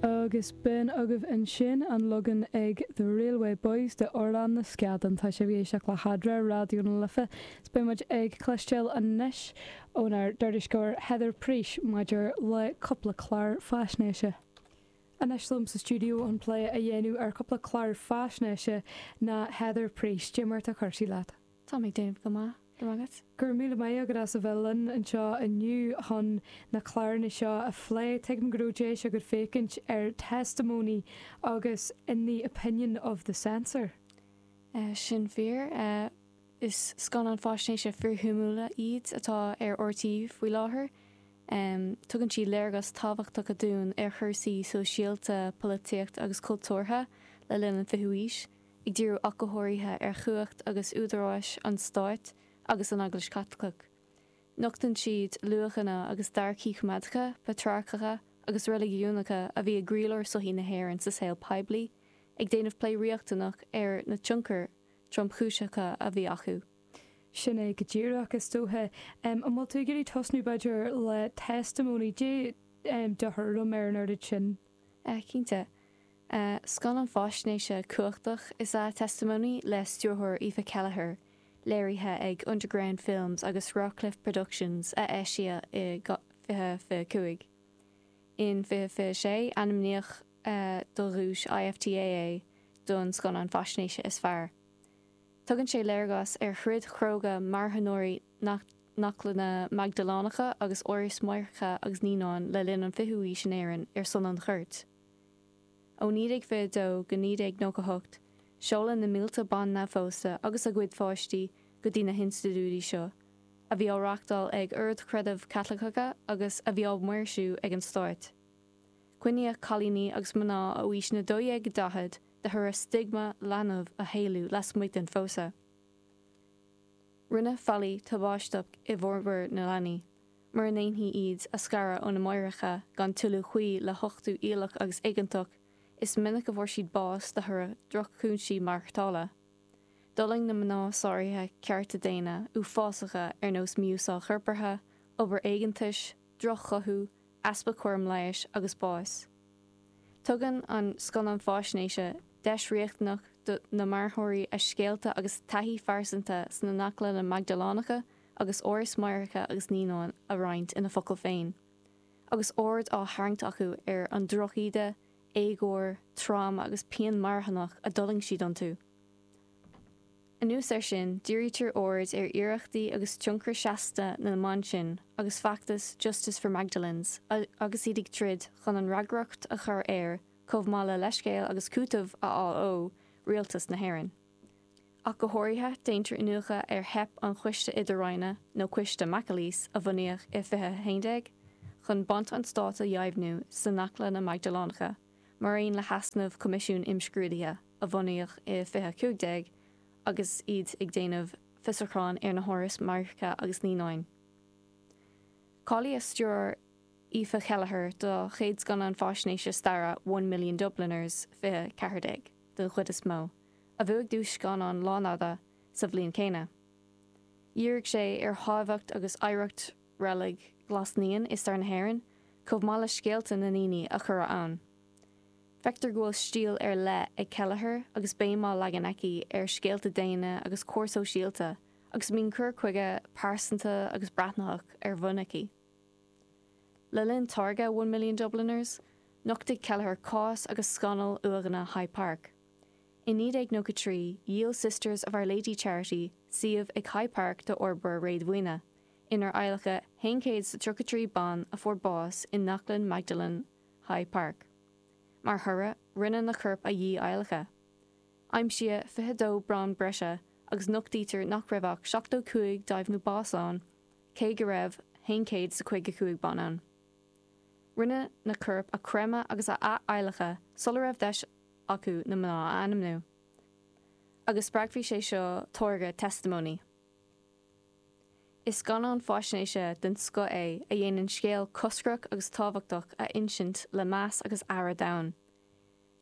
Agus b'in agaibh ansin an leagan ag The Railway Boys de Orlán na Scadán. Tá sibh ag éisteacht le hEadra, Raidió na Life. Is beidh muid ag cloisteáil anois ónár dtuairisceoir Heather Preace maidir le cúpla clár faisnéise. Anois liom sa stiúideo chun plé a dhéanamh ar chúpla clár faisnéise ná Heather Preace. Cad é mar atá cúrsaí leat? Tá mé ag déanamh go maith, go raibh maith agat. Go raibh míle maith agat as a bheith linn anseo inniu chun na cláranna seo a phlé. Tuigim go raibh deis agat féachaint ar Testimony agus In the Opinion of the Censor. Sin fíor. Is scannáin faisnéise fíorshuimiúla iad atá ar RTÉ faoi láthair. Tugann siad léargas tábhachtacha dúinn ar chúrsaí sóisialta, polaitíocht agus cultúrtha le linn an fichiú haois. ag díriú ach go háirithe ar chumhacht agus údaráis an stáit agus an Eaglais Chaitliceach. Nochtann siad luachanna agus dearcthaí coimeádacha, patrarcacha agus reiligiúnacha a bhí i gcroílár sochaí na hÉireann sa saol poiblí, ag déanamh plé riachtanach ar na tionchair tromchúiseacha a bhí acu. Sin é go díreach, is dócha. An bhfuil tú ag iarraidh tosnú, b'fhéidir, le Testimony? Cad é do thuairim ar an oiread sin? Cinnte. Scannán faisnéise cumhachtach is ea Testimony le stiúrthóir Aoife Kelleher, léirithe ag Underground Films agus Rawcliffe Productions a eisíodh i 2025. In 2026, ainmníodh do dhuais IFTA é don scannán faisnéise is fearr. Tugann sé léargas ar throid chróga marthanóirí na nAnaclanna Maigdiléanacha agus Áras Máithreacha agus Naíonán le linn an 20ú haois in Éirinn ar son an chirt. Ó 1922 go 1998, seoladh na mílte ban neamhphósta agus a gcuid pháistí go dtí na hinstitiúidí seo, a bhí á reáchtáil ag oird chreidimh Chaitliceacha agus a bhí á maoirsiú ag an stáit. Coinníodh cailíní agus mná ó aois na 12 go 40 de thoradh stiogma leanbh a shaolú lasmuigh den phósadh. Rinneadh faillí tubaisteach i bhformhór na leanaí, mura ndéanfaí iad a scaradh óna máithreacha gan toiliú cuí le huchtú iallach agus éigeantach, is minic a fuair siad bás de thoradh droch-chúinsí maireachtála. D'fhulaing na mná sáruithe cearta daonna uafásacha ar nós mí-úsáid chorpartha, obair éigeantais, droch-chothú, easpa cúram leighis agus bás. Tugann an scannán faisnéise deis riachtanach do na marthóirí a scéalta agus taithí phearsanta sna Anaclanna Maigdiléanacha agus Áras Máithreacha agus Naíonán a roinnt ina bhfocail féin, agus aird á tharraingt acu ar an drochíde, éagóir, tráma agus pian mharthanach a d'fhulaing siad iontu. Anuas air sin, dírítear aird ar iarrachtaí agus tionchar seasta na mban sin agus feachtas Justice for Magdalenes agus iad ag troid chun an fhreagracht a chur ar, chomh maith le leithscéal agus cúiteamh a fháil ó, Rialtas na hÉireann. Ach go háirithe, déantar iniúchadh ar theip an Choiste Idir-Roinne, nó Coiste McAleese, a bunaíodh i 2011 chun baint an stáit a dheimhniú sna Anaclanna Maigdiléanacha, mar aon le heasnamh Coimisiún Imscrúdaithe a bunaíodh i 2015 agus iad ag déanamh fiosrúcháin ar na hárais máithreacha agus naíonáin. Cáilíodh stiúrthóir Aoife Kelleher dá chéad scannán faisnéise staire One Million Dubliners 2014, den chuid is mó, a bhuaigh duais scannán lánfhada sa bhliain chéanna. Dhírigh sé ar thábhacht agus oidhreacht Reilig Ghlas Naíon i stair na hÉireann, chomh maith le scéalta na ndaoine a cuireadh ann. Feictear go bhfuil stíl ar leith ag Kelleher agus béim á leagan aici ar scéalta daonna agus cóir sóisialta agus mbíonn cur chuige pearsanta agus breathnaitheach ar bun aici. Le linn táirgeadh One Million Dubliners, nochtaigh Kelleher cás agus scannal uaigheanna High Park. I 1993, dhíol Sisters of Our Lady Charity suíomh ag High Park d'fhorbróir réadmhaoine, inar adhlacadh 133 ban a fuair bás i Anaclann Magdalene High Park. Mar thoradh, rinneadh na coirp a dhí-adhlacadh. Aimsíodh 22 brón breise agus nochtaítear nach raibh ach 75 deimhniú báis ann cé go raibh 155 ban ann. Rinneadh na coirp a chreimeadh agus a ath-adhlacadh sula raibh deis acu na mná a ainmniú. Agus spreagfaidh sé seo táirgeadh Testimony. Is scannán faisnéise den scoth é a dhéanann scéal coscrach agus tábhachtach a insint le meas agus aire domhain.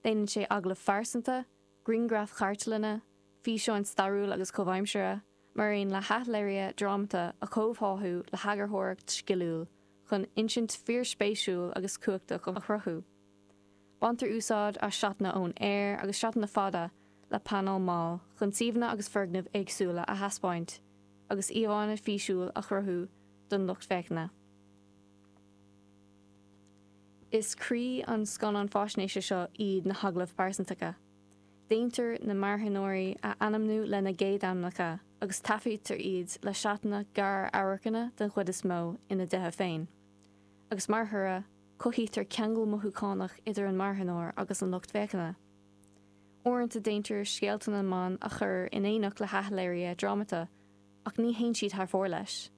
Déanann sé agallaimh phearsanta, grianghraif chartlainne, físeáin stairiúil agus chomhaimseartha, mar aon le hathléirithe drámata a chomhtháthú le heagarthóireacht sciliúil chun insint fíorspéisiúil agus cumhachtach a chruthú. Baintear úsáid as seatanna ón aer agus seatanna fada le panáil mall chun suíomhanna agus foirgnimh éagsúla a thaispeáint agus íomhánna físiúil a chruthú don lucht féachana. Is croí an scannáin faisnéise seo iad na hagallaimh pearsantacha. Déantar na marthanóirí a ainmniú lena gcéadainmneacha agus taifeadtar iad le seatanna gar-amharcanna den chuid is mó ina dtithe féin. Agus mar thoradh, cothaítear ceangal mothúchánach idir an marthanóir agus an lucht féachana. Uaireanta déantar scéalta na mban a chur in éineacht le hathléirithe drámata, ach ní théann siad thar fóir leis.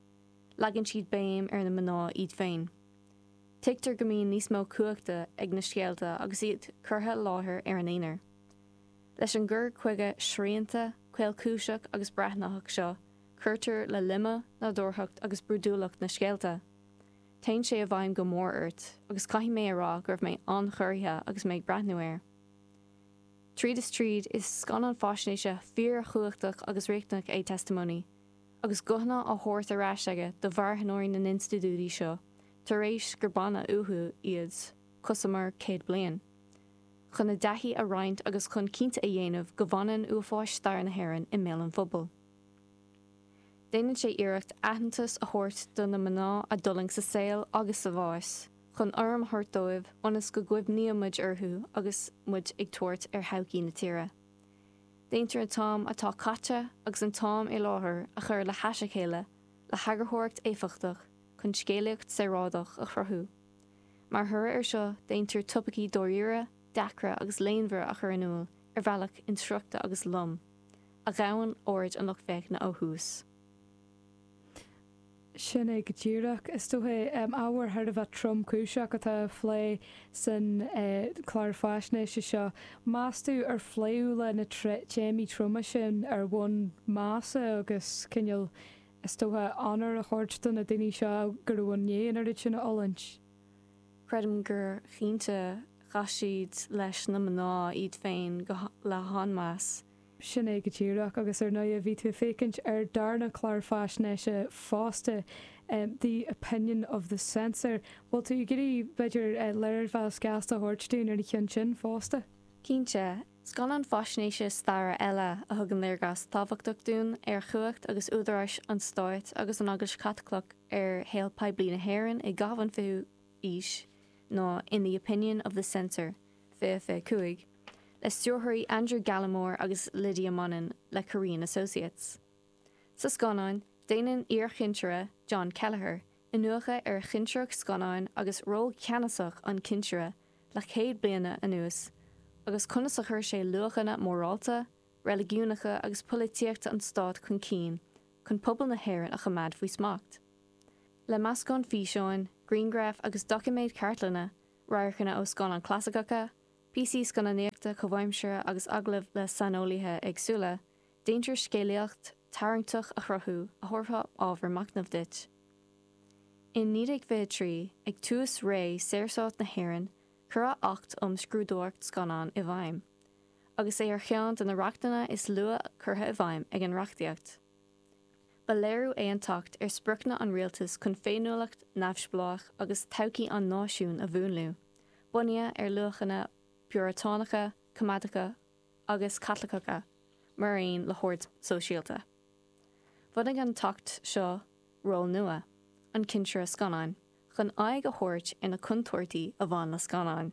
Leagann siad béim ar na mná iad féin. Tuigtear go mbíonn níos mó cumhachta ag na scéalta agus iad curtha i láthair ar an aonar. Leis an gcur chuige srianta, caolchúiseach agus breathnaitheach seo, cuirtear le loime, nádúrthacht agus brúidiúlacht na scéalta. Téann sé i bhfeidhm go mór ort agus caithfidh mé a rá go raibh mé an-chorraithe agus mé ag breathnú air. Tríd is tríd, is scannán faisnéise fíorchumhachtach agus riachtanach é Testimony, agus guthanna á thabhairt ar ais aige do mharthanóirí na n-institiúidí seo tar éis gur baineadh uathu iad cosamar 100 bliain, chun a dtaithí a roinnt agus chun cinnte a dhéanamh go bhfanann uafáis stair na hÉireann i mbéal an phobail. Déanann sé iarracht aitheantas a thabhairt do na mná a d'fhulaing sa saol agus sa bhás, chun urraim a thabhairt dóibh ionas go gcuimhníonn muid orthu agus muid ag tabhairt ar thodhchaí na tíre. Déantar an t-am atá caite agus an t-am i láthair a chur le hais a chéile le heagarthóireacht éifeachtach chun scéalaíocht saorálach a chruthú. Mar thoradh air seo déantar topaicí dáiríre, deacra agus léanmhara a chur in iúl ar bhealach insroichte agus lom, a ghabhann aird an lucht féachana ó thús. Sin é go díreach. Is dócha, ábhar thar a bheith tromchúiseach atá á phlé san chlár faisnéise seo. Meas tú ar pléadh le na téamaí troma sin ar bhonn measa agus cineál, is dócha, onóir a thabhairt do na daoine seo go raibh i ndiaidh an oiread sin a fhulaingt? Creidim gur chinnte chaith siad leis na mná iad féin le han-mheas. Sin é go díreach, agus ar ndóigh bhí tú ag féachaint ar darna clár faisnéise fosta, The Opinion of the Censor. Bhfuil tú ag iarraidh, b'fhéidir, léirmheas gasta a thabhairt dúinn ar an cheann sin fosta? Cinnte. Scannán faisnéise staire eile a thugann léargas tábhachtach dúinn ar chumhacht agus údaráis an stáit agus an Eaglais Chaitliceach ar shaol poiblí na hÉireann i gcaitheamh an fichiú haois ná In the Opinion of the Censor, 2025, le stiúrthóirí Andrew Gallimore agus Lydia Monin le Korean Associates. Sa scannán, déanann iarchinsire, John Kelleher, iniúchadh ar chinsireacht scannáin agus ról ceannasach an chinsire le 100 bliana anuas agus conas a chuir sé luachanna mórálta, reiligiúnacha agus polaitíochta an stáit chun cinn chun pobal na hÉireann a choimeád faoi smacht. Le meascán físeáin, grianghraf agus doiciméad cartlainne, radharcanna ó scannáin chlasaiceacha, píosaí scannánaíochta comhaimseartha agus agallaimh le saineolaithe éagsúla, déantar scéalaíocht tarraingteach a chruthú a thabharfadh ábhar machnaimh duit. In 1923, ag tús ré Saorstát na hÉireann, cuireadh Acht um Scrúdóireacht Scannán i bhfeidhm, agus é ar cheann de na reachtanna is luaithe curtha i bhfeidhm ag an reachtaíocht. Ba léiriú é an tAcht ar spriocanna an rialtais chun féiniúlacht neamhspleách agus todhchaí an náisiúin a mhúnlú, bunaithe ar luachanna Piúratánacha, coimeádacha agus Caitliceacha, mar aon le hord sóisialta. Bhunaigh an tAcht seo ról nua, an cinsire scannáin, chun aghaidh a thabhairt ar na contúirtí a bhain le scannáin.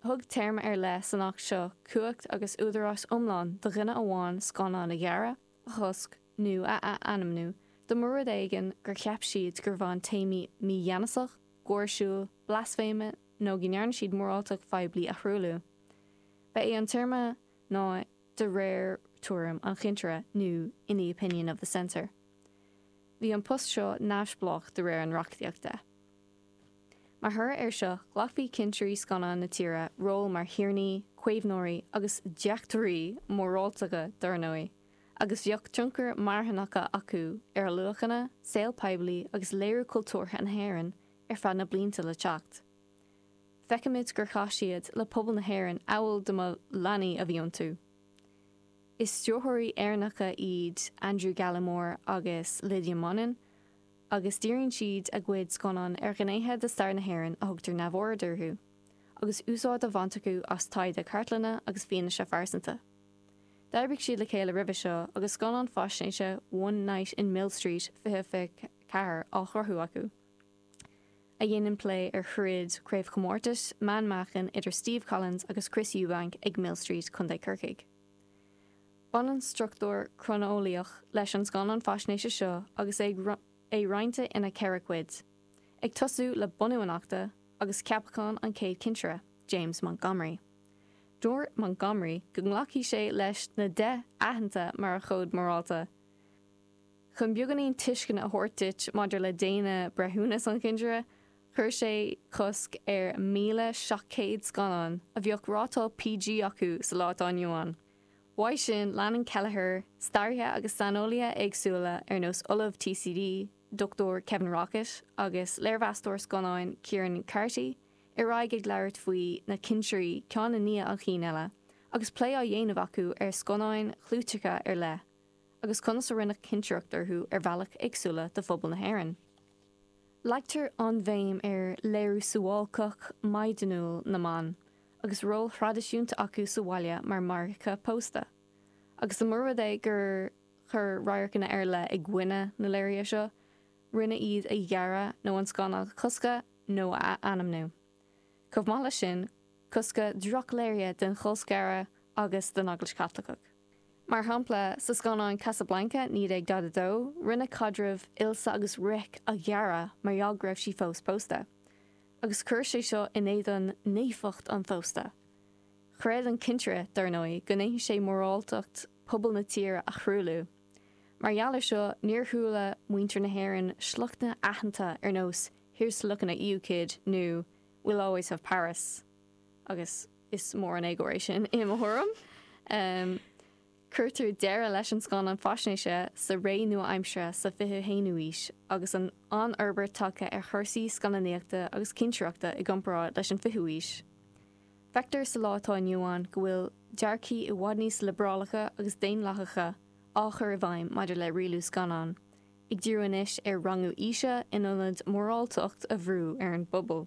Thug téarma ar leith san Acht seo cumhacht agus údarás iomlán do dhuine amháin scannán a ghearradh, a chosc nó a ath-ainmniú dá mba rud éigin gur cheap siad gur bhain téamaí mígheanasach, gáirsiúil, blaisféime nó go ndearna siad moráltacht phoiblí a thruailliú. Ba é an téarma ná de réir tuairim an chinsire nó in the opinion of the censor. Bhí an post seo neamhspleách de réir an reachtaíochta. Mar thoradh air seo, ghlacfaí cinsirí scannán na tíre ról mar thiarnaí, caomhnóirí agus deachtóirí móráltacha dar ndóigh, agus bheadh tionchar marthanacha acu ar luachanna, saol poiblí agus léiriú cultúrtha na hÉireann ar feadh na blianta le teacht. Feicimid gur chaith siad le pobal na hÉireann amhail dá mba leanaí a bhí iontu. Is stiúrthóirí Éireannacha iad Andrew Gallimore agus Lydia Monin, agus díríonn siad a gcuid scannán ar ghnéithe de stair na hÉireann a thugtar neamhaird orthu, agus úsáid á bhaint acu as taighde cartlainne agus fianaise phearsanta. D'oibrigh siad le chéile roimhe seo agus scannán faisnéise One Night in Millstreet 2024 á chruthú acu, a dhéanann plé ar throid craobhchomórtais meánmheáchain idir Steve Collins agus Chris Eubank ag Millstreet, Co. Corcaigh. Baineann struchtúr croineolaíoch leis an scannán faisnéise seo agus é roinnte ina cheithre chuid, ag tosú le bunú an Achta agus ceapachán an chéad chinsire, James Montgomery. Dúirt Montgomery go nglacfaidh sé leis na Deich Aitheanta mar a chód morálta. Chun beagáinín tuisceana a thabhairt duit maidir le déine breithiúnas an chinsire, chuir sé cosc ar 1,700 scannán a bheadh rátáil PG acu sa lá atá inniu ann. Uaidh sin, leanann Kelleher staraithe agus saineolaithe éagsúla ar nós Ollamh TCD, Dr Kevin Rockett agus léirmheastóir scannáin Kieran Carty ar aghaidh ag labhairt faoi na cinsirí ceann i ndiaidh an chinn eile agus plé á dhéanamh acu ar scannáin chlúiteacha ar leith agus conas a rinneadh cinsireacht orthu ar bhealaí éagsúla do phobal na hÉireann. Leagtar an-bhéim ar léiriú suáilceach maighdeanúil na mban agus ról thraidisiúnta acu sa bhaile mar mháithreacha pósta. Agus dá mba rud é gur chuir radharcanna ar leith i gcoinne na léirithe seo, rinneadh iad a ghearradh nó an scannán a choscadh nó a ainmniú. Chomh maith leis sin, coscadh drochléirithe den cholscaradh agus den Eaglais Chaitliceach. Mar shampla, sa scannán Casablanca 1942, rinneadh caidreamh Ilse agus Rick a ghearradh mar gheall go raibh sí fós pósta. Agus chuir sé seo in éadan naofacht an phósta. Chreid an cinsire, dar ndóigh, go ndéanfaidh sé moráltacht pobal na tíre a thruailliú. Mar gheall ar seo, níor chuala muintir na hÉireann sliochtanna aitheanta ar nós Here's to looking at you, kid nó We'll always have Paris. Agus is mór an éagóir é sin, i mo thuairim. Cuirtear deireadh leis an scannán faisnéise sa ré nua-aimseartha sa 21ú aois agus an an-fhorbairt tagtha ar chúrsaí scannánaíochta agus cinsireachta i gcomparáid leis an 20ú aois. Feictear sa lá atá inniu ann go bhfuil dearcthaí i bhfad níos liobrálacha agus daonlathacha á chur i bhfeidhm maidir le rialú scannán, ag díriú anois ar rangú aoise in ionad moráltacht a bhrú ar an bpobal.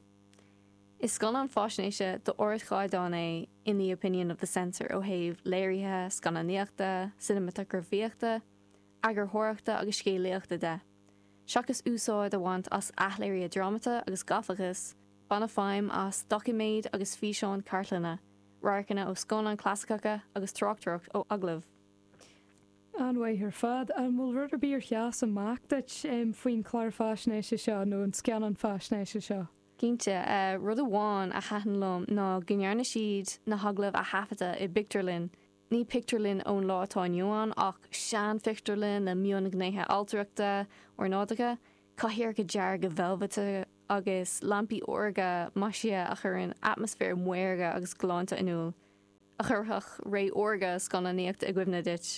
Is scannán faisnéise d'ardchaighdeán é In the Opinion of the Censor ó thaobh léirithe, scannánaíochta, cineamatagrafaíochta, eagarthóireachta agus scéalaíochta de. Seachas úsáid a bhaint as athléirithe drámata agus gafachas, baineadh feidhm as doiciméid agus físeáin cartlainne, radharcanna ó scannáin chlasaiceacha agus tráchtaireacht ó agallaimh. An-mhaith ar fad. An bhfuil rud ar bith ar sheas amach duit faoin chlár faisnéise seo nó an scannán faisnéise seo? Cinnte. Rud amháin a thaitin liom ná go ndearna siad na hagallaimh a thaifeadadh i bpictiúrlann. Ní pictiúrlann ón lá atá inniu ann ach seanphictiúrlann le mionghnéithe ailtireachta ornáideacha, cathaoireacha dearga veilbhite agus lampaí órga maisithe a chuireann atmaisféar maorga agus galánta in iúl, a chuirfeadh ré órga scannánaíochta i gcuimhne duit.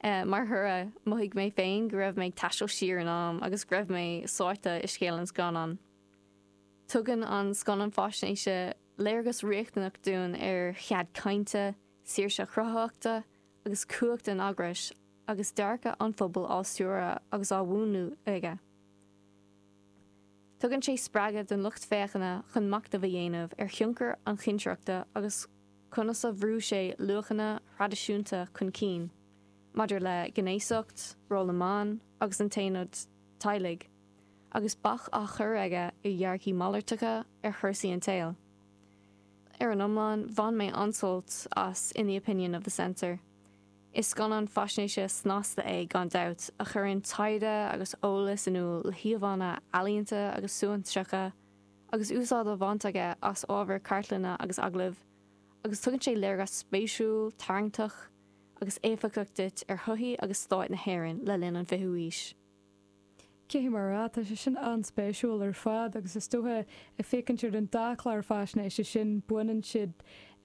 Mar thoradh, mhothaigh mé féin go raibh mé ag taisteal siar in am agus go raibh mé sáite i scéal an scannáin. Tugann an scannán faisnéise léargas riachtanach dúinn ar chead cainte, saoirse chruthaitheachta agus cumhacht an eagrais agus dearcadh an phobail á stiúradh agus á mhúnlú aige. Tugann sé spreagadh don lucht féachana chun machnamh a dhéanamh ar thionchar an chinsireachta agus conas a bhrú sé luachanna thraidisiúnta chun cinn maidir le gnéasacht, ról na mban agus an t-aonad teaghlaigh. agus bac á chur aige ar dhearcthaí malartacha ar chúrsaí an tsaoil. Ar an iomlán, bhain mé an-sult as In the Opinion of the Censor. Is scannán faisnéise snasta é, gan dabht, a chuireann taighde agus eolas in iúl le híomhánna ealaíonta agus suaithinseacha, agus úsáid á bhaint aige as ábhar cartlainne agus agallaimh, agus tugann sé léargas spéisiúil, tarraingteach agus éifeachtach duit ar shochaí agus stát na hÉireann le linn an fichiú haois. Caithfidh mé a rá, tá sé sin an-spéisiúil ar fad agus is dócha, ag féachaint ar an dá chlár faisnéise sin, baineann siad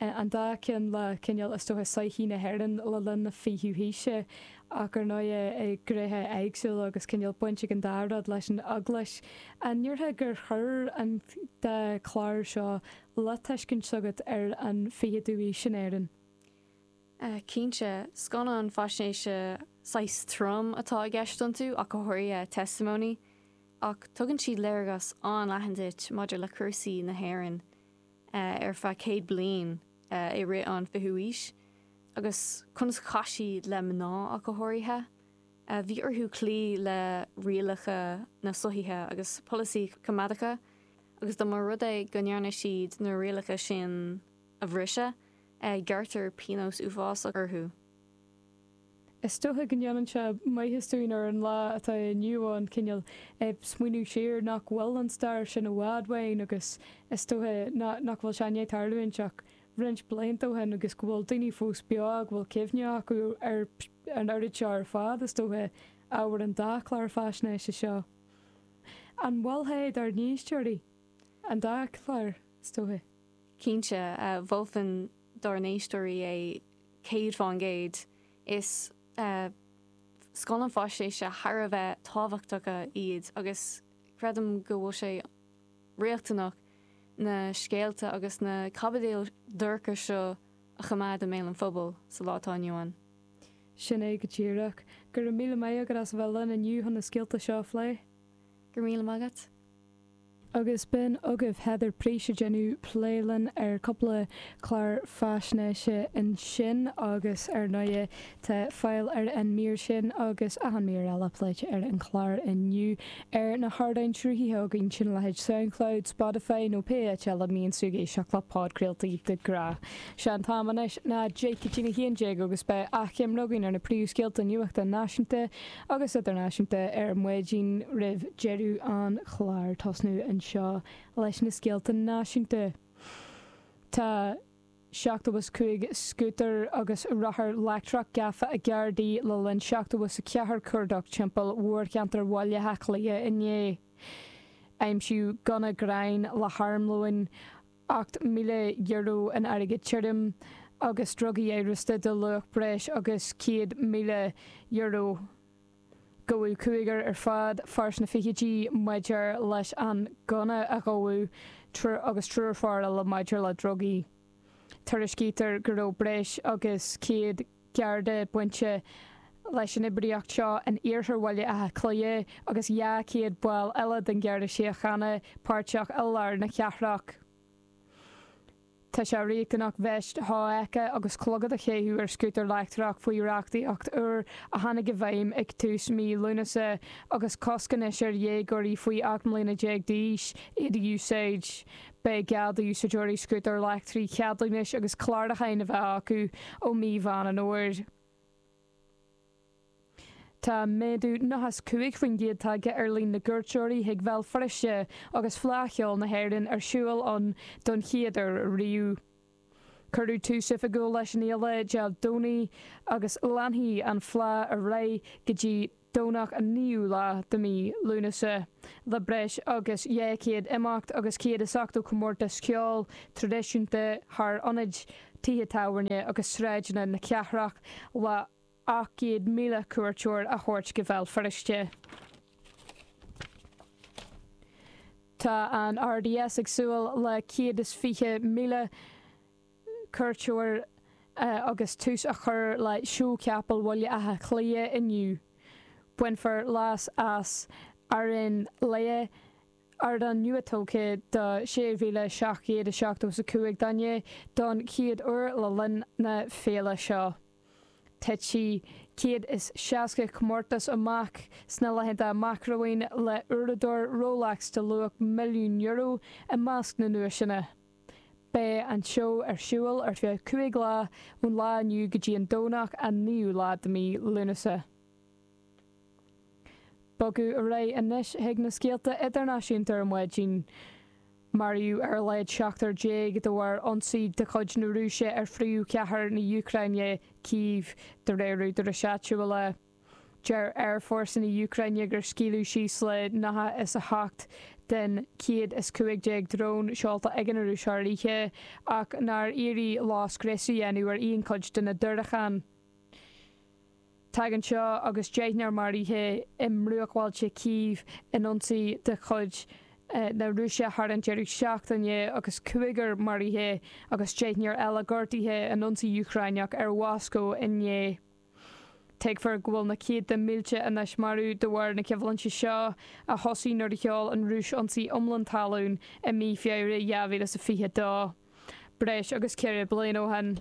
an dá cheann le cineál, is dócha, sochaí na hÉireann le linn na fichiú haoise ach ar ndóighe i ngnéithe éagsúla agus cineál baint ag an dá rud leis an Eaglais. An ndéarfá gur chuir an dá chlár seo le tuiscint s'agat ar an fichiú haois in Éirinn? Cinnte, scannán faisnéise saghas trom atá i gceist iontu, ach go háirithe Testimony, ach tugann siad léargas an-leathan duit maidir le cúrsaí na hÉireann. ar feadh 100 bliain i rith an fichiú aois agus conas a chaith siad le mná ach go háirithe. Bhí orthu cloí le rialacha na sochaithe agus polasaí coimeádacha agus dá mba rud é go ndearna siad na rialacha sin a bhriseadh, gearrtar pionós uafásach orthu. Is dócha go ndéanann sé maitheas dúinn ar an lá atá inniu ann cineál smaoineamh siar nach bhfuil an stair sin i bhfad uainn agus is dócha nach bhfuil sé i ndiaidh tarlúint ach roinnt blianta ó shin agus go bhfuil daoine fós beo, go bhfuil cuimhne acu ar an oiread seo ar fad, is dócha, ábhar an dá chlár faisnéise seo. An mholfá é dár n-éisteoirí? An dá chlár, is dócha. Cinnte, mholfainn dár n-éisteoirí é 100%. Is scannáin faisnéise thar a bheith tábhachtacha iad agus creidim go bhfuil sé riachtanach na scéalta agus na caibidil dhorcha seo a choimeád i mbéal an phobail sa lá atá inniu ann. Sin é go díreach. Go raibh míle maith agat as a bheith linn inniu chun na scéalta seo a phlé. Go raibh míle maith agat. Agus b'in agaibh Heather Preece ag déanamh plé linn ar cúpla clár faisnéise ansin agus ar ndóighe tá fáil ar an mír sin agus achan mír eile pléite ar an chlár inniu ar na hardáin sruthaithe againn sin leithéid Soundcloud, Spotify nó pé áit eile a mbíonn tú ag éisteacht le podchraoltaí de ghnáth. Sé an t-am anois ná 10 go dtí a 11 agus beidh achoimre againn ar na príomhscéalta nuachta náisiúnta agus idirnáisiúnta ar maidin roimh deireadh an chláir. Tosnú anseo leis na scéalta náisiúnta. Tá 75 scútar agus rothar leictreach gafa ag Gardaí le linn 74 cuardach timpeall mhórcheantar Bhaile Átha Cliath inné. Aimsíodh gunna gráin le harmlóin, €8,000 in airgead tirim agus drugaí amhrasta de luach breis agus €100,000. Gabhadh cúigear ar fad, fear sna fichidí maidir leis an ngunna a gabhadh agus triúr fear eile maidir le drugaí. Tuairiscítear go raibh breis agus 100 Garda bainte leis an oibríocht seo in iarthar Bhaile Átha Cliath agus 200 ball eile den Gharda Síochána páirteach i lár na cathrach. Tá sé riachtanach veist shofheicthe agus clogad a chaitheamh ar scútar leictreach faoi reachtaíocht úr a tháinig i bhfeidhm ag tús mí Lúnasa agus cosc anois ar dhéagóirí faoi 18 mbliana d'aois iad a úsáid. Beidh gá d'úsáideoirí scútair leictrigh ceadúnais agus clárúcháin a bheith acu ó mí Mheán an Fhómhair. Tá méadú 95% tagtha ar líon na gcuairteoirí chuig Bhéal Feirste agus Fleadh Cheoil na hÉireann ar siúl ann don chéad uair riamh. Cuireadh tús oifigiúil leis an fhéile Dé Domhnaigh agus leanfaidh an Fleadh ar aghaidh go dtí Domhnach an 9ú lá de mhí Lúnasa, le breis agus 200 imeacht agus 180 comórtas ceoil traidisiúnta thar ionaid, tithe tábhairne agus sráideanna na cathrach le 800,000 cuairteoir a thabhairt go Bhéal Feirste. Tá an RDS ag súil le 120,000 cuairteoir agus tús á chur le Seó Capall Bhaile Átha Cliath inniu. Bainfear leas as Airéine Laoi, ardán nua-tógtha do 6,775 duine, don chéad uair le linn na féile seo. Titfidh 160 comórtas amach sna laethanta amach romhainn le uaireadóir Rolex de luach €1,000,000 i measc na nduaiseanna. Beidh an seó ar siúl ar feadh 5 lá, ón lá inniu go dtí an Domhnach an 9ú lá de mí Lúnasa. Bogadh ar aghaidh anois chuig na scéalta idirnáisiúnta ar maidin. Maraíodh ar a laghad seachtar déag de bharr ionsaí de chuid na Rúise ar phríomhchathair na hÚcráine, Cív, de réir údaráis áitiúla. Deir Aerfhórsa na hÚcráine gur scaoileadh síos le 98 den 115 drón seolta ag an Rúis thar oíche, ach nár éirigh leo scrios a dhéanamh ar aon chuid de na diúracáin. Tagann seo agus deichniúr maraithe i mbruachbhailte Cív in ionsaí de chuid na Rúise thar an deireadh seachtaine agus cúigear maraithe agus deichniúr eile gortaithe in ionsaí Úcráineach ar Mhoscó inné. Tuigfear go bhfuil na céadta mílte anois marbh de bharr na coimhlinte seo, a thosaigh nuair a sheol an Rúis ionsaí iomlán talún i mí Feabhra 2022, breis agus 4 bliana ó shin.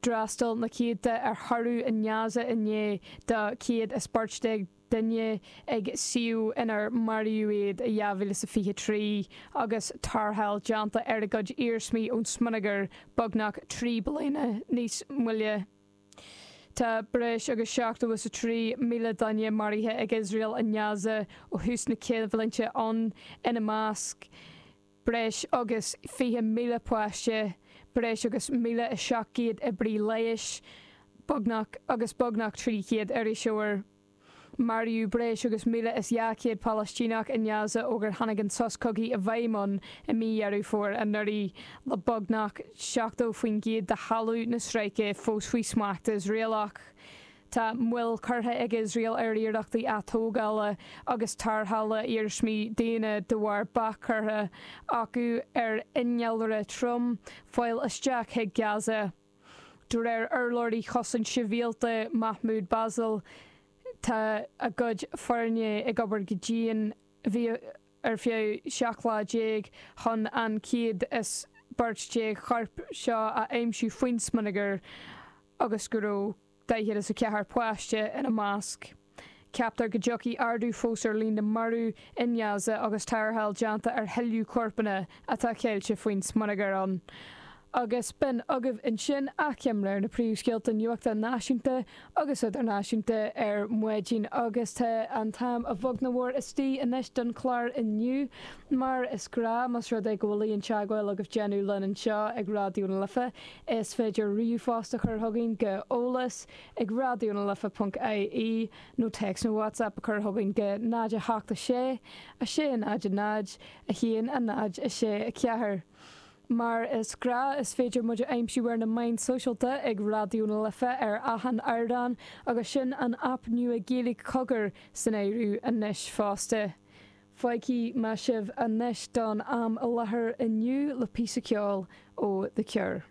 D'fhreastail na céadta ar thórramh i nGaza inné do 114 duine ag suíomh inar maraíodh iad i 2023 agus tarrtháil déanta ar a gcuid iarsmaí ón smionagar beagnach 3 bliana níos moille. Tá breis agus 73,000 duine maraithe ag Iosrael i nGaza ó thús na coimhlinte ann, ina measc breis agus 20,000 páiste, breis agus 1,700 oibrí leighis, beagnach agus beagnach 300 iriseoir. Maraíodh breis agus 1,200 Palaistíneach i nGaza ó gur tháinig an sos cogaidh i bhfeidhm ann i mí Dheireadh Fómhair anuraidh, le beagnach 70% de thalamh na stráice fós faoi smacht Iosraelach. Tá moill curtha ag Iosrael ar iarrachtaí atógála agus tarrthála iarsmaí daoine de bharr bac curtha acu ar innealra trom fáil isteach chuig Gaza. De réir urlabhraí Chosaint Shibhialta Mahmoud Bassal, tá a gcuid foirne ag obair go dian ar feadh 17 lá chun an 112 chorp seo a aimsiú faoin smionagar agus go raibh 44 páiste ina measc. Ceaptar go dtiocfaidh ardú fós ar líon na marbh i nGaza agus tarrtháil déanta ar thuilleadh corpanna atá ceilte faoin smionagar ann. Agus b'in agaibh ansin achoimre ar na príomhscéalta nuachta náisiúnta agus idirnáisiúnta ar maidin agus tá an t-am a bheag nó a mhór istigh anois don chlár inniu. Mar is gnáth, más rud é go bhfuil aon teagmháil agaibh déanamh linn anseo ag Raidió na Life, Is féidir ríomhphost a chur chugainn go eolas ag raidionalife.ie nó téacs nó WhatsApp a chur chugainn go 0 8 6 6 0 0 1 0 6 4. Mar is gnáth, is féidir muid a aimsiú ar na meáin sóisialta ag Raidió na Life ar achan ardán agus sin an aip nua Gaeilge Cogar san áireamh anois fosta. Fágfaidh mé sibh anois don am i láthair inniu le píosa ceoil ó The Cure.